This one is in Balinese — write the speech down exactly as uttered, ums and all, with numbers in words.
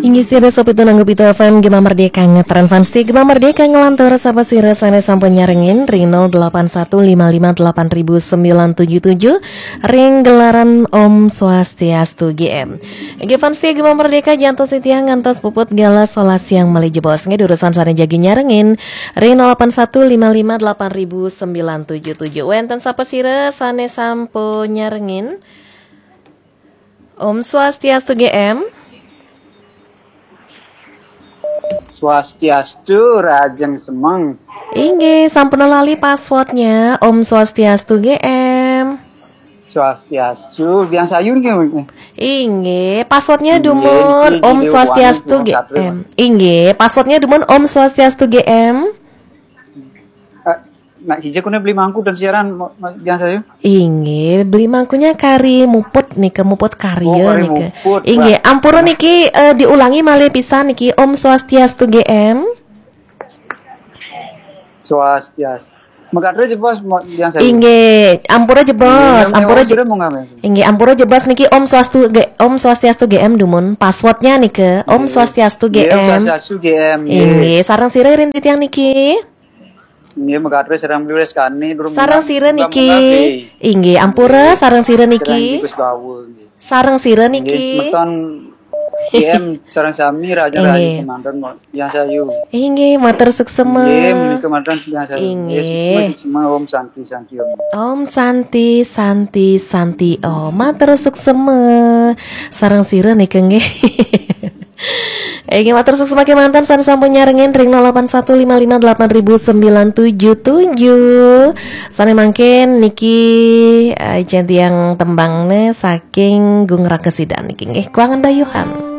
Inggih sira sopi tunanggap Pitu F M Gema Merdeka, ngetren fans ti Gema Merdeka, ngelantur sapa sira sane sampun nyarengin ring nol delapan satu lima lima delapan ribu sembilan tujuh tujuh, ring gelaran Om Swastiastu G M. Inggih fans ti Gema Merdeka, jantos titiang ngantos puput galah solas siang malih jebos. Nggih, durusang sane jagi nyarengin ring nol delapan satu lima lima delapan ribu sembilan tujuh tujuh. Wenten sapa sira sane sampun nyarengin? Om Swastiastu G M. Swastiastu, rahajeng semeng. Inggih, sampun lali passwordnya. Om Swastiastu G M. Swastiastu, Biang Sayu niki. Inggih, passwordnya Inggih, dumun niki Om Jidil Swastiastu Wani G M. Inggih, passwordnya dumun Om Swastiastu G M. Eh, nak hija kuna beli mangku dan siaran, mo-, mo-, Biang Sayu. Inggih, beli mangkunya kari muput nika, muput karya Oh, kari nika. Muput, Inggih, Pak. Ampura niki, eh, diulangi malih pisan niki, Om Swastiastu G M. Swastiastu. Megatres jebos, mo-, Biang Sayu. Inggih, ampura jebos, Inggih, ampura Om je-, Sira monggo, Biang Sayu. Inggih, ampura jebos niki Om Swastu G-, Om Swastiastu G M dumun. Passwordnya nika, Om Inggih. Swastiastu Inggih, Om G M. Swastiastu G M, inggih. Inggih, sareng sira ring titiang niki. Inggih, megatres sareng Bli Lestari, durung Sareng munggah, sira munggah, niki. Munggah, nggih. Inggih, ampura, Inggih. Sareng sira niki. Sareng Gus Bawa, nggih. Sareng sira Inggih, niki. Semeton G M sareng sami, rahajeng Inggih. Rahajeng kemanten, Biang Sayu. Inggih, matur suksema. Inggih, menika manten Biang Sayu. Inggih. Inggih, suksema, suksema, Om Santi, Santi, Om. Om Santi, Santi, Santi, Om. Matur suksema. Sareng sira nika nggih. Inggih, matur suksema kemanten sane sampun nyarengin ring nol delapan satu lima lima delapan ribu sembilan tujuh tujuh. Sane mangkin niki, eh, jen tiang tembangne saking Gung Rakesidan niki nggih. Kuangan dayuhan.